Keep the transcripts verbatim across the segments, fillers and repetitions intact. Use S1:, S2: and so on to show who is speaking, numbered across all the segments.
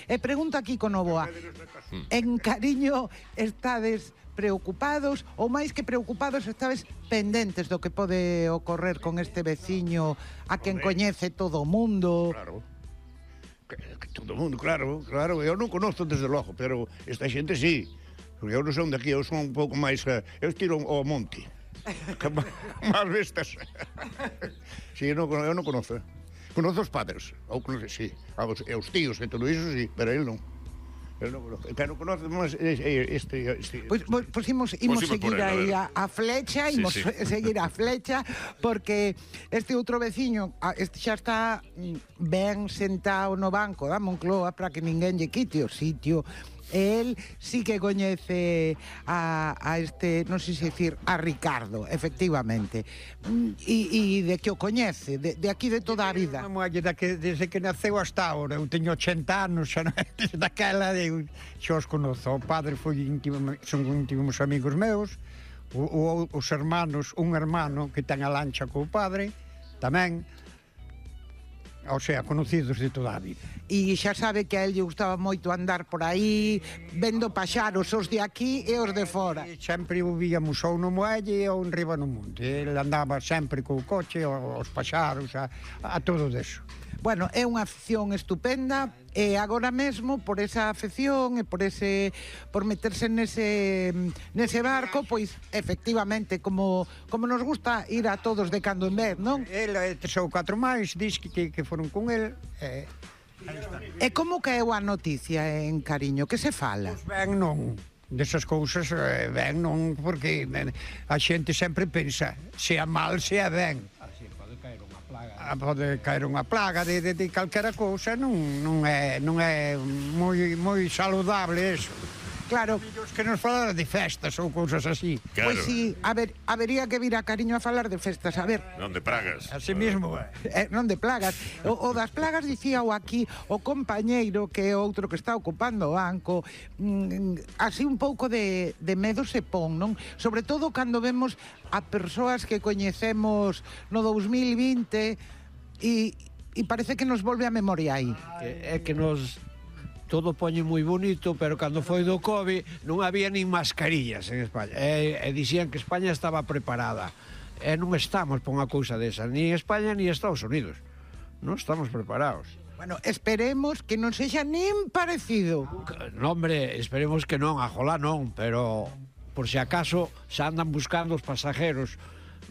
S1: E pregunto aquí con Novoa, en Cariño estades preocupados ou máis que preocupados estades pendentes do que pode ocorrer con este veciño a quen coñece todo o mundo?
S2: Claro. Que, que todo o mundo, claro, claro. Eu non conozco desde logo, pero esta xente sí. Porque eu non son de aquí, eu son un pouco máis... Uh, eu tiro ao monte. Más vistas. Sí, eu non, eu non conozo. Conozo os padres, ou conoce, sí. E os tíos e todo iso, sí, pero ele non. Ele non conoce. Pero conoce máis este... este
S1: Pois pues, pues, imos, imos seguir aí a, a flecha, imos sí, sí. seguir a flecha, porque este outro veciño, este xa está ben sentado no banco da Moncloa para que ninguén lle quite o sitio. El sí que coñece a, a este, non sei se dicir, a Ricardo, efectivamente. E, e de que o coñece, de, de aquí de toda a vida.
S3: Desde que naceu hasta ahora, eu teño ochenta anos, xa non, desde daquela eu xa os conozo. O padre foi íntimo, son íntimos amigos meus, o, o, os hermanos, un hermano que ten a lancha co padre, tamén. O sea, conocidos de toda a vida.
S1: E xa sabe que a él lle gustaba moito andar por aí, vendo paxaros, os de aquí e os de fora.
S3: E sempre o víamos ou no muelle ou en riba no monte. Ele andaba sempre co coche, aos paxaros, a, a todo deso.
S1: Bueno, é unha afición estupenda e agora mesmo por esa afección e por ese por meterse nese nese barco, pois efectivamente como como nos gusta ir a todos de cando en vez, non?
S3: Ele e tres ou catro máis dis que, que, que foron con el. E,
S1: e como caeu a noticia en Cariño? Que se fala?
S3: Pois ben non. Desas cousas ben non, porque a xente sempre pensa sea mal, sea ben. Pode caer unha plaga de, de, de calquera cousa, non, non é, non é moi, moi saludable eso.
S1: Claro.
S3: Que nos falara de festas ou cousas así.
S4: Claro.
S1: Pois si, a ver, habería que vir a Cariño a falar de festas, a ver.
S4: Non de pragas.
S3: Así mismo.
S1: Eh, non de plagas. O, o das plagas dicía o aquí o compañeiro, que é outro que está ocupando o banco, mm, así un pouco de, de medo se pon, non? Sobre todo cando vemos a persoas que coñecemos no dous mil vinte e, e parece que nos volve a memoria aí.
S5: É que nos... todo poñe moi bonito, pero cando foi do COVID non había nin mascarillas en España. E, e dixían que España estaba preparada. E non estamos por unha cousa desa, ni España ni Estados Unidos. Non estamos preparados.
S1: Bueno, esperemos que non sexa nin parecido.
S5: No, hombre, esperemos que non, ajolá non, pero por si acaso xa andan buscando os pasajeros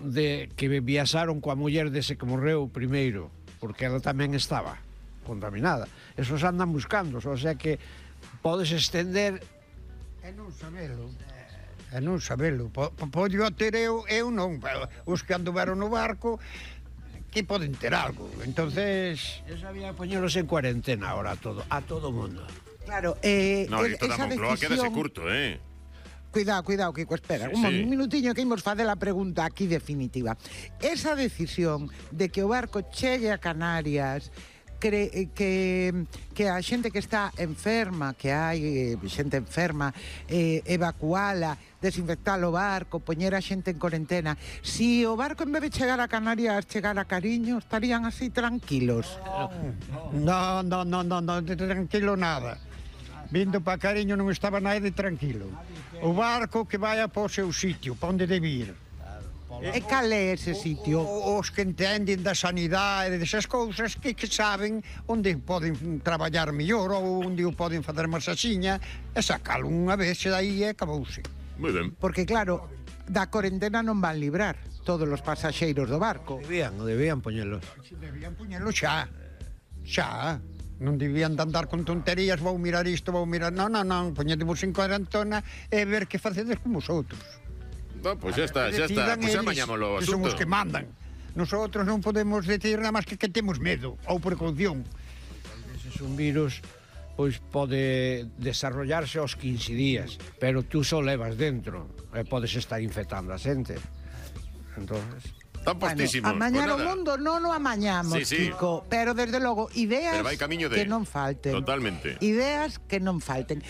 S5: de que viaxaron coa muller dese que morreu primeiro, porque ela tamén estaba contaminada. Esos andan buscando, o sea que podes estender
S3: e non sabelo. E non sabelo. Podo ter eu, eu non, pero os que anduveron no barco que poden ter algo. Entonces,
S5: eu sabía poñelos en cuarentena ahora a todo, a todo mundo.
S1: Claro, eh
S4: no, e toda
S1: esa
S4: Moncloa
S1: decisión...
S4: quedase curto, eh.
S1: Cuidado, cuidado, Kiko, espera,
S4: Sí,
S1: un
S4: sí.
S1: minutiño que imos facer a pregunta aquí definitiva. Esa decisión de que o barco chegue a Canarias, que, que, que a xente que está enferma, que hai xente enferma, eh, evacuala, desinfectar o barco, poñer a xente en cuarentena. Si o barco en vez de chegar a Canarias chegar a Cariño, estarían así tranquilos?
S3: non, non, non, non, non, tranquilo nada. Vindo para Cariño non estaba nada de tranquilo. O barco que vai a po seu sitio, pa onde debe ir.
S1: E cal é ese sitio?
S3: O, os que entenden da sanidade e desas cousas que, que saben onde poden traballar mellor ou onde o poden fazer masaxiña e sacalo unha vez e dai e acabouse.
S4: Moi ben.
S1: Porque claro, da cuarentena non van librar todos os pasaxeiros do barco.
S5: Debían, debían poñelos.
S3: Debían poñelo xa. Xa. Non debían de andar con tonterías, vou mirar isto, vou mirar... Non, non, non, poñedemos en cuarentena e ver que facedes con vosotros.
S4: No, pois xa está, xa está, pois xa mañámolo o
S3: asunto. Son os
S4: asunto.
S3: que mandan. Nosotros non podemos decir nada máis que que temos medo ou precaución.
S5: Ese é un virus, pois pode desarrollarse aos quince días, pero tú só levas dentro e podes estar infectando a xente. Entonces...
S4: Están postísimos.
S1: Bueno, amañar
S4: pues
S1: o mundo non o amañamos,
S4: sí, sí.
S1: Kiko, pero desde logo ideas
S4: de...
S1: que non falten.
S4: Totalmente.
S1: Ideas que non falten.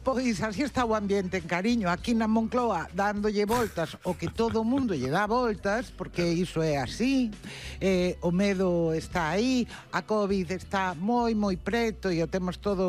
S1: Pois así está o ambiente en Cariño, aquí na Moncloa, dándolle voltas o que todo o mundo lle dá voltas, porque iso é así, eh, o medo está aí, a COVID está moi, moi preto e o temos todo